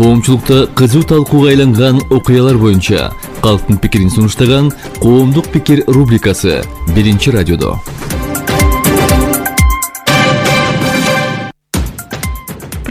Коомчулукта кызуу талкууга айланган окуялар боюнча калктын пикирин сунуштаган Коомдук пикир рубрикасы Биринчи радиодо.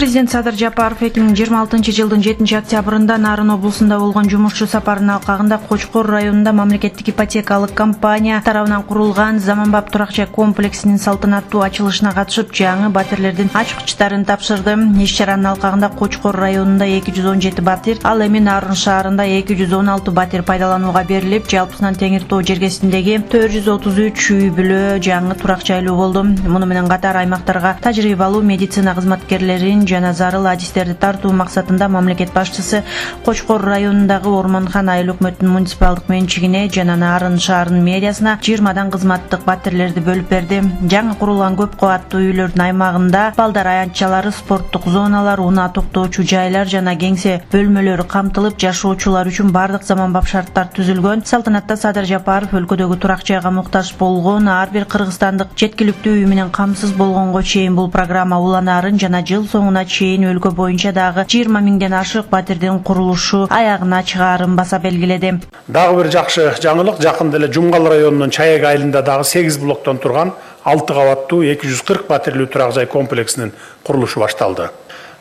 Президент Садыр Жапаров 2026-жылдын 7-октябрында Нарын облусунда болгон жумушчу сапарынын алкагында Кочкор районунда мамлекеттик ипотекалык компания тарабынан курулган заманбап турак-жай комплексинин салтанаттуу ачылышына катышып, жаңы батирлердин ачкычтарын тапшырды. Иш-чаранын алкагында Кочкор районунда 217 батир, ал эми Нарын шаарында 216 батир пайдаланууга берилип, жалпысынан Теңир Тоо жергесиндеги 433 үй-бүлө жаңы турак жайлуу болду. Муну менен катар аймактарга тажрыйбалуу медицина кызматкерлерин жана зарыл адистерди тартуу максатында мамлекет башчысы Кочкор районундагы Ормонхан айыл өкмөтүнүн муниципалдык менчигине жана Нарын шаарынын мэриясына 20 кызматтык батирлерди бөлүп берди. Жаңы курулган көп кабаттуу үйлөрдүн аймагында балдар аянтчалары, спорттук зоналар, унаа токтоочу жайлар жана кеңсе бөлмөлөрү камтылып, жашоочулар үчүн бардык заманбап шарттар түзүлгөн. Салтанатта Садыр Жапаров өлкөдөгү турак жайга муктаж болгон ар бир кыргызстандык жеткиликтүү үй менен камсыз болгонго чейин бул программа уланаарын жана жыл соңуна чейин өлкө боюнча дагы 20 миңден ашык батирдин курулушу аягына чыгаарын баса белгиледи. Дагы бир жакшы жаңылык, жакында эле Жумгал районунун Чаек айылында дагы 8 блоктон турган 6 кабаттуу 240 батирлүү турак жай комплексинин курулушу башталды.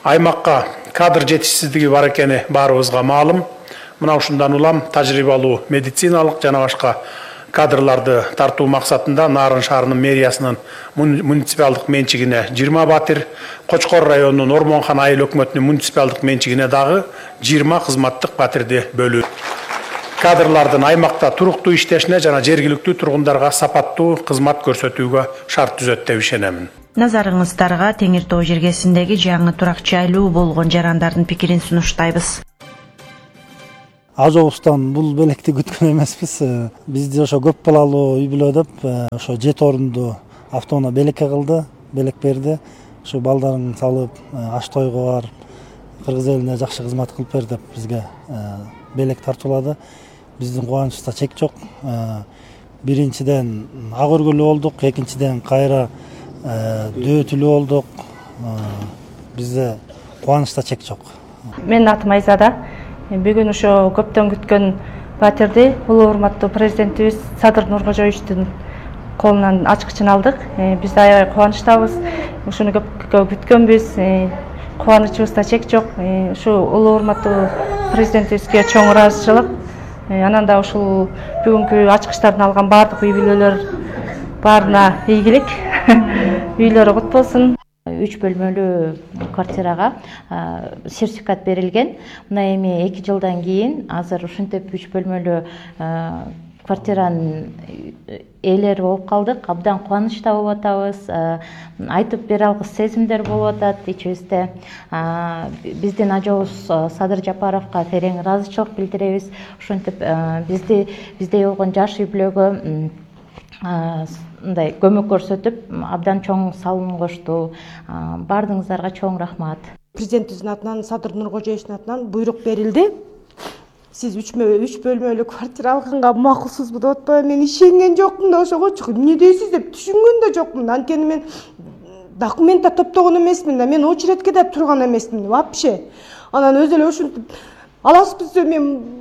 Аймакка кадр жетишсиздиги бар экени баарыбызга маалым. Мына ушундан улам тажрыйбалуу медициналык жана башка кадрларды тартуу максатында Нарын шаарынын мэриясынын муниципалдык менчигине 20 батир, Кочкор районунун Ормонхан айыл өкмөтүнүн муниципалдык менчигине дагы 20 кызматтык батирди бөлүү. Кадрлардын аймакта туруктуу иштешине жана жергиликтүү тургундарга сапаттуу кызмат көрсөтүүгө шарт түзөт деп ишенемин. Назарыңыздарга Теңир Тоо жергесиндеги жаңы турак жайлуу болгон жарандардын пикирин сунуштайбыз. Ажообуздан бул белекти күткөн эмеспиз. Бизди ошо көп балалуу үй-бүлө деп ошо 7 орунду автоунаа белекке кылды, белек берди. Ошо балдарын салып, аш тойго барып, кыргыз элине жакшы кызмат кылып бер деп бизге белек тартуулады. Биздин кубанычыбызда чек жок. Биринчиден ак өргөлүү болдук, экинчиден кайра дөөтүлүү болдук. Бизде кубанычта чек жок. Менин атым Айзада. Бүгүн ошо көптөн күткөн батирди улуу урматтуу президентибиз Садыр Нуркожоевичтин колунан ачкычын алдык. Биз аябай кубанычтабыз. Ушуну көп күткөнбүз. Кубанычыбызда чек жок. Ушу улуу урматтуу президентибизге чоң ыраазычылык. Анан да ушул бүгүнкү ачкычтарды алган бардык үй-бүлөлөр баарына ийгилик. Үйлөрү кут болсун. 3 бөлмөлүү квартирага сертификат берилген. Мына эми 2 жылдан кийин азыр ушинтип 3 бөлмөлүү квартиранын ээлери болуп калдык. Абдан кубанычта болуп атабыз. Айтып бере алгыс сезимдер болуп атат ичибизде. Биздин ажообуз Садыр Жапаровго терең ыраазычылык билдиребиз. Ушинтип бизде болгон жаш үй-бүлөгө мындай көмөк көрсөтүп, абдан чоң салым кошту. Бардыгыңыздарга чоң рахмат. Президентибиздин атынан, Садыр Нуркожоевичтин атынан буйрук берилди. Сиз 3 бөлмөлүү квартира алганга макулсузбу деп атпайбы? Мен ишенген жокмун да ошого. Эмне дейсиз деп түшүнгөн да жокмун. Анткени мен документ да топтогон эмесмин да, мен очередке да турган эмесмин вообще. Анан өзү эле ушинтип аласызбыз деп мен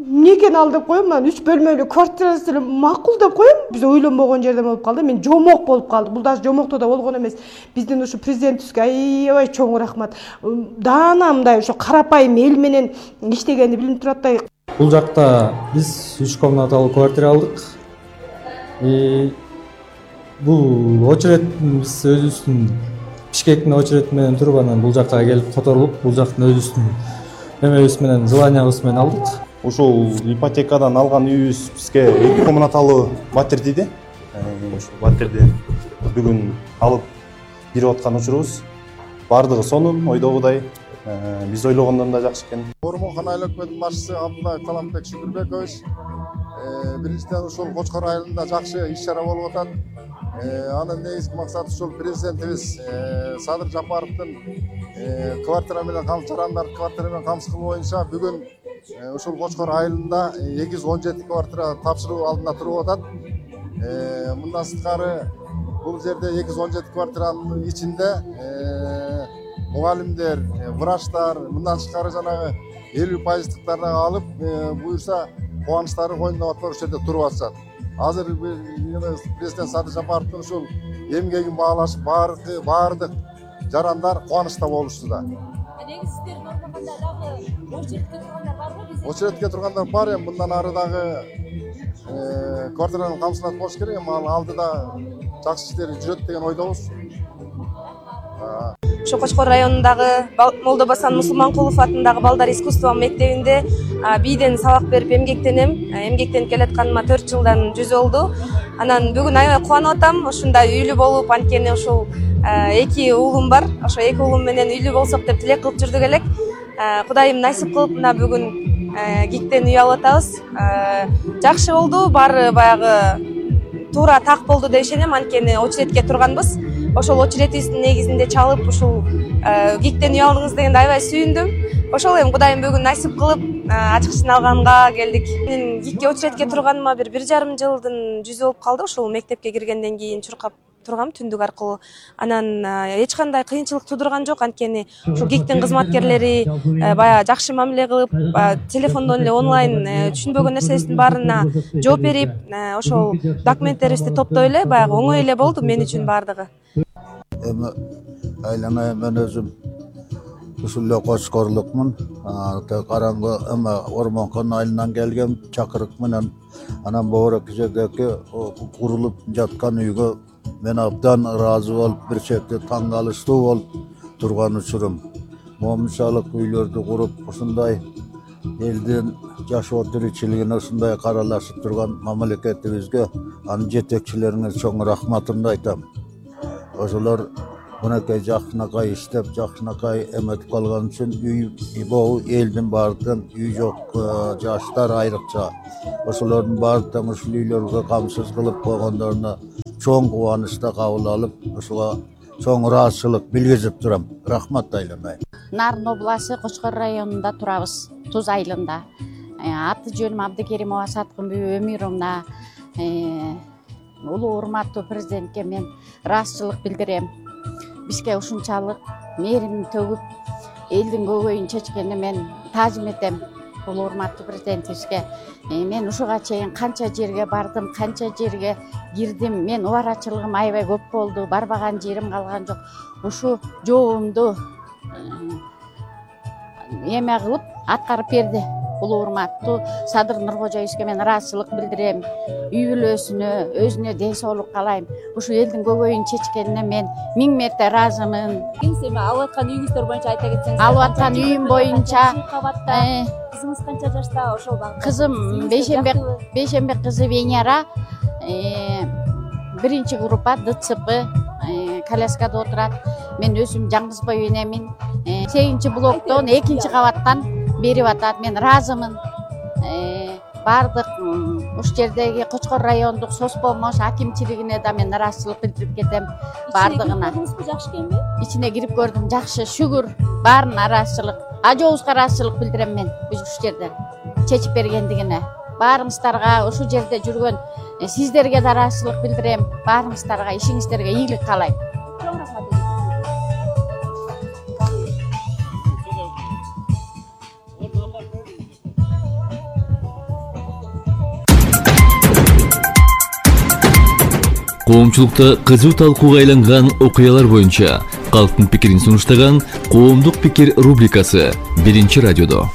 эмнекен ал деп коем, анан 3 бөлмөлүү квартирасы эле макул деп коем. Биз ойлонбогон жерден болуп калды. Мен жомок болуп калды. Бул даже жомокто да болгон эмес. Биздин ушу президентибизге аябай чоң рахмат. Даана мындай ошо карапайым эл менен иштегенди билип турат да. Бул жакта биз 3 комнаталуу квартира алдык. Бул очеред биз өзүбүздүн Бишкектин очереди менен туруп анан бул жакка келип которулуп, бул жактын өзүбүздүн эмебиз менен, желаниябыз менен алдык. Ушул ипотекадан алган үйүбүз бизге 2 комнаталуу батир тийди. Ушул батирди бүгүн алып берип аткан учурубуз бардыгы сонун, ойдогудай. Биз ойлогондон да жакшы экен. Ормонхан айыл өкмөтүнүн башчысы Абдуллаев Таламбек Шүкүрбекович биринчиден ушул Кочкор айылында жакшы иш-чара болуп атат. Анын негизги максаты ушул президентибиз Садыр Жапаровдун квартира менен жарандар квартира менен камсыз кылуу боюнча бүгүн ушул Кочкор айылында 217 квартира тапшыруу алдында туруп атат. Мындан сырткары бул жерде 217 квартиранын ичинде мугалимдер, врачтар, мындан тышкары жанагы 50% дагы алып, буюрса кубанычтары койнуна батпай ушул жерде туруп атышат. Азыр президент Садыр Жапаровдун ушул эмгегин баалашып баардык жарандар кубанычта болушту да. Негизи сиздердин ормаганда дагы очередке тургандар барбы? Очередке тургандар бар, эми мындан ары дагы квартираны камсыздап коюш керек, эми ал алдыда жакшы иштер жүрөт деген ойдобуз. Ошо Кочкор районундагы Молдобасан Мусулманкулов атындагы балдар искусство мектебинде бийден сабак берип эмгектенем. Эмгектенип келатканыма 4 жылдан жүз болду. Анан бүгүн аябай кубанып атам. Ушундай үйлүү болуп, анткени ушул 2 уулум бар. Ошо 2 уулум менен үйлүү болсок деп тилек кылып жүрдүк элек. Кудайым насип кылып мына бүгүн ГИКтен үй алып атабыз. Жакшы болду, баары баягы туура так болду деп ишенем, анткени очередке турганбыз. Ошол очередибиздин негизинде чалып ушул ГИКтен үй алдыңыз дегенде аябай сүйүндүм. Ошол эми Кудайым бүгүн насип кылып ачкычын алганга келдик. Мен ГИКке очередке турганыма 1,5 жылдын жүзү болуп калды. Ушул мектепке киргенден кийин чуркап тургам түндүк аркылуу. Анан эч кандай кыйынчылык туудурган жок, анткени ушул ГИКтин кызматкерлери баягы жакшы мамиле кылып, телефондон эле онлайн түшүнбөгөн нерсебиздин баарына жооп берип, ошол документтерибизди топтой эле баягы оңой эле болду мен үчүн баардыгы. Эми айланайын мен өзүм ушул эле Кочкорлукмун. Караңгы Ормонкон айылынан келгем чакырык менен. Анан Боорок жердеги курулуп жаткан үйгө мен абдан ыраазы болуп, бир чети таң калыштуу болуп турган учурум. Момунчалык үйлөрдү куруп, ушундай элдин жашоо тиричилигине ушундай каралашып турган мамлекетибизге, анын жетекчилерине чоң рахматымды айтам. Ошолор мынакей жакшынакай иштеп, жакшынакай эметип калган үчүн үй элдин баардыгын үй жок жаштар айрыкча ошолордун баардыгын ушул үйлөргө камсыз кылып койгондоруна чоң кубанычта кабыл алып, ушуга чоң ыраазычылык билгизип турам. Рахмат айланайын. Нарын областы Кочкор районунда турабыз, Туз айылында. Аты жөнүм Абдыкеримова Саткынбүй Өмүровна. Улуу урматтуу президентке мен ыраазычылык билдирем. Бизге ушунчалык мээрим төгүп, элдин көйгөйүн чечкенине мен таазим этем. Улуу урматтуу президентибизге мен ушуга чейин канча жерге бардым, канча жерге кирдим. Мен убарачылыгым аябай көп болду, барбаган жерим калган жок. Ушу жообумду эме кылып аткарып берди. Улуу урматтуу Садыр Нуркожоевичке мен ыраазычылык билдирем. Үй бүлөсүнө, өзүнө ден соолук каалайм. Ушу элдин көйгөйүн чечкенине мен 1000 мерте ыраазымын. Эми алып аткан үйүңүздөр боюнча айта кетсеңиз. Алып аткан үйүм боюнча кызыңыз канча жашта? Ошол кызым Бейшембек кызы Венера 1-группа ДЦП коляскада отурат. Мен өзүм жаңгыз бой энемин. 8-блоктон 2-кабаттан берип атат. Мен ыраазымын. Бардык ушул жердеги Кочкор райондук соцпомош акимчилигине да мен ыраазычылык билдирип кетем. Бардыгына. Жакшы экенби? Ичине кирип көрдүм, жакшы, шүгүр. Баарына ыраазычылык. Ажообузга ыраазычылык билдирем мен ушул жерде чечип бергендигине. Баарыңыздарга ушул жерде жүргөн сиздерге да ыраазычылык билдирем. Баарыңыздарга ишиңиздерге ийгилик каалайм. Коомчулукта кызуу талкууга айланган окуялар боюнча калктын пикирин сунуштаган Коомдук пикир рубрикасы 1-радиодо.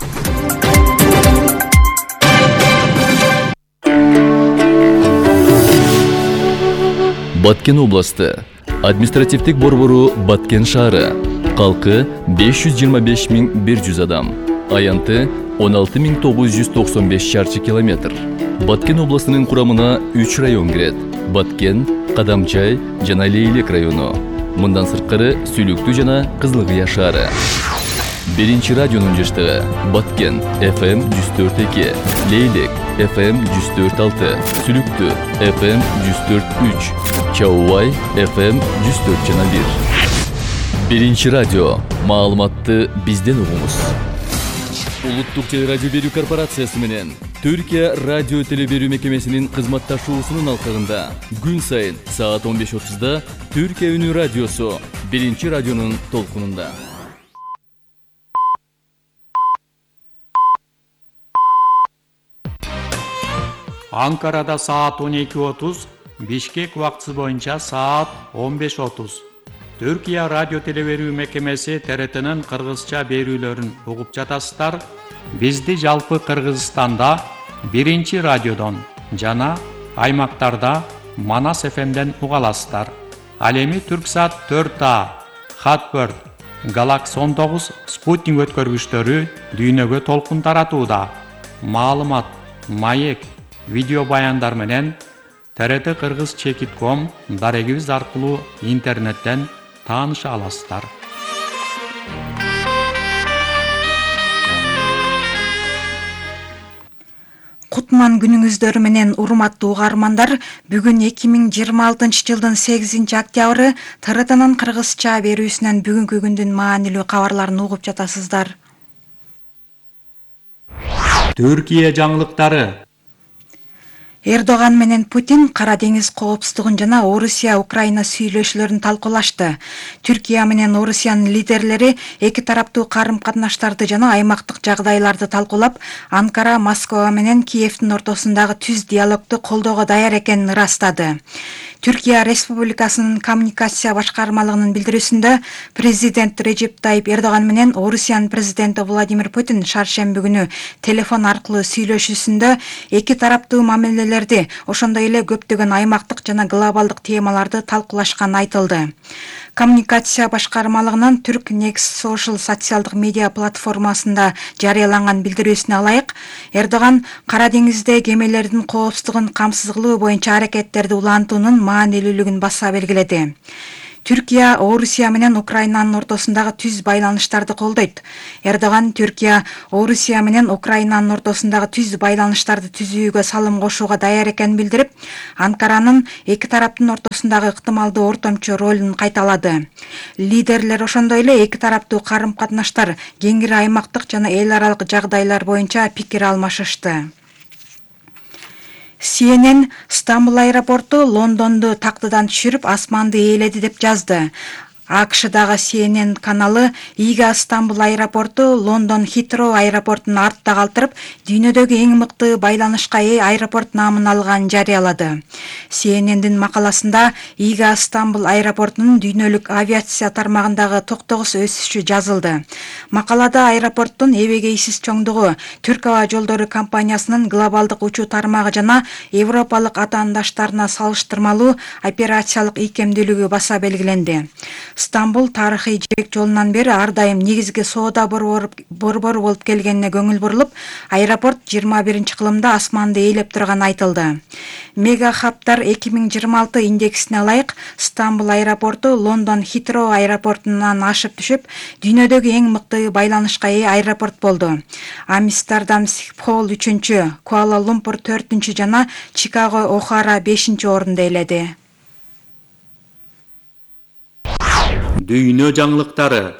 Баткен областы, административдик борбору Баткен шаары, калкы 525.100 адам, аянты 16.995 чарчы километр. Баткен областынын курамына 3 район кирет: Баткен, Кадамчай жана Лейлек району. Мындан сырткары Сүлүктүү жана Кызылкыя шаары. 1-радионун жаштыгы: Баткен FM 104.2, Лейлек FM 104.6, Сүлүктүү FM 104.3, Чаубай FM 104.1. 1-радио. Маалыматты бизден угуңуз. Улуттук телерадио берүү корпорациясы менен Түркия радио телеберүү мекемесинин кызматташуусунун алкагында күн сайын саат 15:30 Түркия үнү радиосу 1-радионун толкунунда. Анкарада саат 12:30, Бишкек убактысы боюнча саат 15:30. Түркия радио телеберүү мекемеси ТРТнын кыргызча берүүлөрүн угуп жатасыздар. Бизди жалпы Кыргызстанда 1 радиодон жана аймактарда Манас ФМден уга аласыздар. Ал эми Түрксат 4А, Хатбird, Galaxy 19 спутник өткөргүчтөрү дүйнөгө толкун таратууда. Маалымат, маек, видео баяндар менен TRT Кыргыз Чекит.com дарегибиз аркылуу интернеттен тааныша аласыздар. Кутман күнүңүздөр менен урматтуу угармандар, бүгүн 2026 жылдын 8 октябры TRTнын кыргызча берүүсүнөн бүгүнкү күндүн маанилүү кабарларын угуп жатасыздар. Түркия жаңылыктары. Эрдоган менен Путин Кара деңиз коопсуздугун жана Орусия-Украина сүйлөшүүлөрүн талкуулашты. Түркия менен Орусиянын лидерлери эки тараптуу карым-катнаштарды жана аймактык жагдайларды талкуулап, Анкара, Москва менен Киевдин ортосундагы түз диалогду колдоого даяр экенин ырастады. Түркия Республикасынын коммуникация башкармалыгынын билдирүүсүндө президент Режеп Тайип Эрдоган менен Орусиянын президенти Владимир Путин шаршемби күнү телефон аркылуу сүйлөшүүсүндө эки тараптуу мамилелерди, ошондой эле көптөгөн аймактык жана глобалдык темаларды талкуулашканы айтылды. Коммуникация башкармалыгынын Түрк Next Social социалдык медиа платформасында жарыяланган билдирүүсүнө ылайык, Эрдоган Кара деңизде кемелердин коопсуздугун камсыз кылуу боюнча аракеттерди улантуунун маанилүүлүгүн баса белгиледи. Түркия Орусия менен Украинанын ортосундагы түз байланыштарды колдойт. Эрдоган Түркия Орусия менен Украинанын ортосундагы түз байланыштарды түзүүгө салым кошууга даяр экенин билдирип, Анкаранын эки тараптын ортосундагы ыктымалдуу ортомчу ролун кайталады. Лидерлер ошондой эле эки тараптуу карым-катнаштар, кеңири аймактык жана эл аралык жагдайлар боюнча пикир алмашышты. CNN Стамбул аэропорту Лондонду тактыдан түшүрүп, асманды ээледи деп жазды. АКШдагы CNN каналы Ига Стамбул аэропорту Лондон Хитроу аэропортун артта калтырып, дүйнөдөгү эң мыкты байланышка ээ аэропорт наамын алганын жарыялады. CNN'дин макаласында Ига Стамбул аэропортунун дүйнөлүк авиация тармагындагы токтогус өсүшү жазылды. Макалада аэропорттун эбегейсиз чоңдугу, Түрк аба жолдору компаниясынын глобалдык учуу тармагы жана европалык атаандаштарына салыштырмалуу операциялык ийкемдүүлүгү баса белгиленди. Стамбул тарыхый жибек жолунан бери ар дайым негизги соода борбору болуп келгенине көңүл бурулуп, аэропорт 21 кылымда асманды ээлеп турганы айтылды. Мега хабтар 2026 индексине ылайык Стамбул аэропорту Лондон Хитроу аэропортунан ашып түшүп, дүйнөдөгү эң мыкты байланышка ээ аэропорт болду. Амстердам Схипхол 3-чү, Куала-Лумпур 4-чү жана Чикаго Охара 5-чү орунду ээледи. Дүйнө жаңылыктары.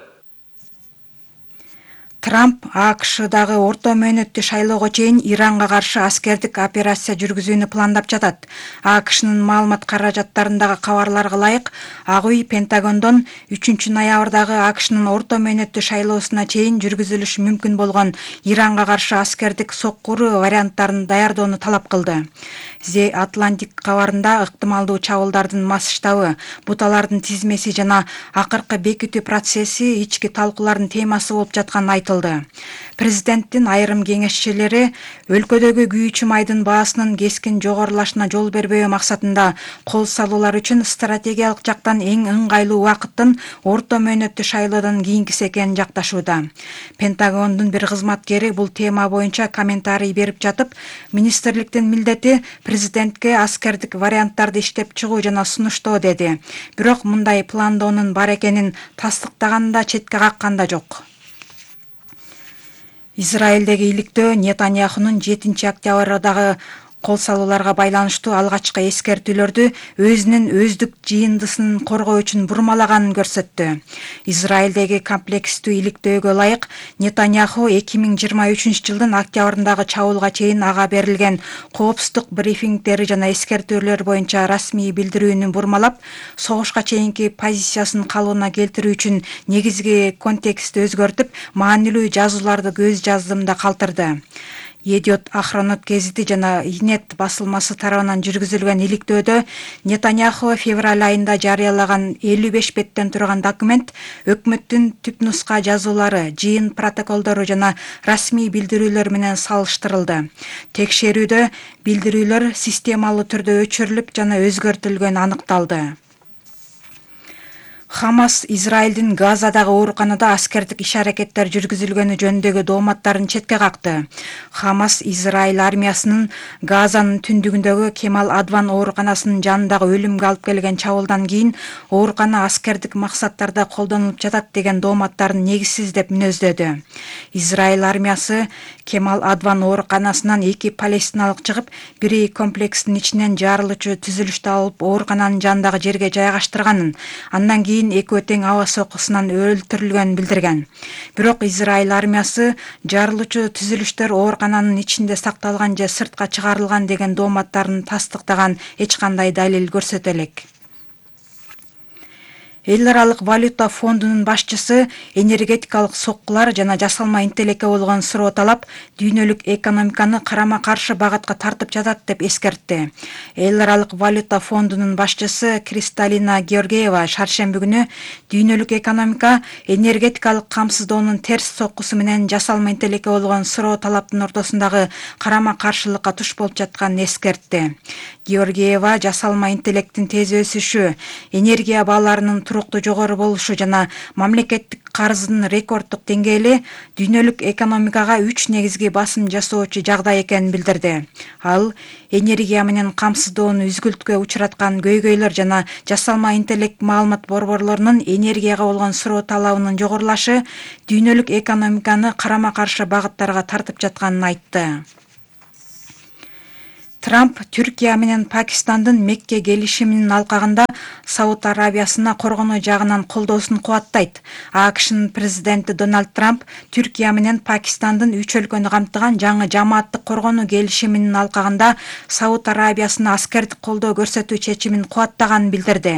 Трамп АКШдагы орто мөөнөттүү шайлоого чейин Иранга каршы аскердик операция жүргүзүүнү пландап жатат. АКШнын маалымат каражаттарындагы кабарларга ылайык, Ак үй Пентагондон 3-ноябрдагы АКШнын орто мөөнөттүү шайлоосуна чейин жүргүзүлүшү мүмкүн болгон Иранга каршы аскердик соккуру варианттарын даярдоону талап кылды. The Atlantic кабарында ыктымалдуу чабуулдардын масштабы, буталардын тизмеси жана акыркы бекитүү процесси ички талкуулардын темасы болуп жатканы айтылды. Президенттин айрым кеңешчилери өлкөдөгү күйүүчү майдын баасынын кескин жогорулашына жол бербөө максатында кол салуулар үчүн стратегиялык жактан эң ыңгайлуу убакыттын орто мөөнөттүү шайлоодон кийинкиси экенин жакташууда. Пентагондун бир кызматкери бул тема боюнча комментарий берип жатып, министрликтин милдети президентке аскердик варианттарды иштеп чыгуу жана сунуштоо деди. Бирок мындай пландоонун бар экенин тастыктаган да четке каккан да жок. Израилдеги иликтөө Нетаньяхунун 7 октябрдагы кол салууларга байланыштуу алгачкы эскертүүлөрдү өзүнүн өздүк жыйындысын коргоо үчүн бурмалаганын көрсөттү. Израилдеги комплекстүү иликтөөгө ылайык, Нетаньяху 2023 жылдын октябрындагы чабуулга чейин ага берилген коопсуздук брифингдери жана эскертүүлөр боюнча расмий билдирүүнү бурмалап, согушка чейинки позициясын калыбына келтирүү үчүн негизги контекстти өзгөртүп, маанилүү жазууларды көз жаздымда калтырды. Едиот Ахронот гезити жана Инет басылмасы тарабынан жүргүзүлгөн иликтөөдө Нетаньяху февраль айында жарыялаган 55 беттен турган документ өкмөттүн түпнуска жазуулары, жыйын протоколдору жана расмий билдирүүлөр менен салыштырылды. Текшерүүдө билдирүүлөр системалуу түрдө өчүрүлүп жана өзгөртүлгөнү аныкталды. Хамас Израилдин Газадагы ооруканада аскердик иш-аракеттер жүргүзүлгөнү жөнүндөгү дооматтарын четке какты. Хамас Израиль армиясынын Газанын түндүгүндөгү Кемал Адван ооруканасынын жанындагы өлүмгө алып келген чабуулдан кийин оорукана аскердик максаттарда колдонулуп жатат деген дооматтарын негизсиз деп мүнөздөдү. Израиль армиясы Кемал Адван ооруканасынан 2 палестиналык чыгып, бири комплекстин ичинен жарылуучу түзүлүштү алып оорукананын жанындагы жерге жайгаштырганын, андан кийин экөө тең аба сокусунан өлтүрүлгөнүн билдирген. Бирок Израиль армиясы жарылуучу түзүлүштөр оорукананын ичинде сакталган же сыртка чыгарылган деген дооматтарын тастыктаган эч кандай далил көрсөтө элек. Эл аралык валюта фондунун башчысы энергетикалык соккулар жана жасалма интеллекке болгон суроо талап дүйнөлүк экономиканы карама-каршы багатка тартып жатат деп эскертти. Эл аралык валюта фондунун башчысы Кристалина Георгиева шаршемби күнү дүйнөлүк экономика энергетикалык камсыздоонун терс соккусу менен жасалма интеллекке болгон суроо талаптын ортосундагы карама-каршылыкка туш болуп жатканын эскертти. Георгиева жасалма интеллектин тез өсүшү, энергия бааларынын туруктуу жогору болушу жана мамлекеттик карыздын рекорддук деңгээли дүйнөлүк экономикага 3 негизги басым жасоочу жагдай экенин билдирди. Ал энергия менен камсыздоону үзгүлткө учураткан көйгөйлөр жана жасалма интеллект маалымат борборлорунун энергияга болгон суроо талабынын жогорулашы дүйнөлүк экономиканы карама-каршы багыттарга тартып жатканын айтты. Трамп Түркия менен Пакистандын Мекке келишиминин алкагында Сауд Арабиясына коргонуу жагынан колдоосун кубаттайт. АКШнын президенти Дональд Трамп Түркия менен Пакистандын 3 өлкөнү камтыган жаңы жамааттык коргонуу келишиминин алкагында Сауд Арабиясына аскердик колдоо көрсөтүү чечимин кубаттаганын билдирди.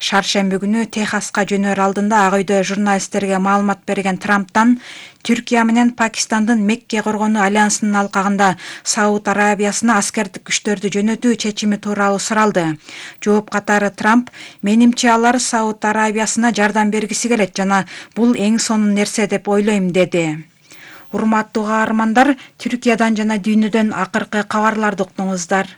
Шаршемби күнү Техаска жөнөр алдында Ак үйдө журналисттерге маалымат берген Трамптан Түркия менен Пакистандын Мекке коргонуу альянсынын алкагында Сауд Арабиясына аскердик күчтөрдү жөнөтүү чечими тууралуу суралды. Жооп катары Трамп: "Менимче алар Сауд Арабиясына жардам бергиси келет жана бул эң сонун нерсе деп ойлойм", деди. Урматтуу каармандар, Түркиядан жана дүйнөдөн акыркы кабарларды уктуңуздар.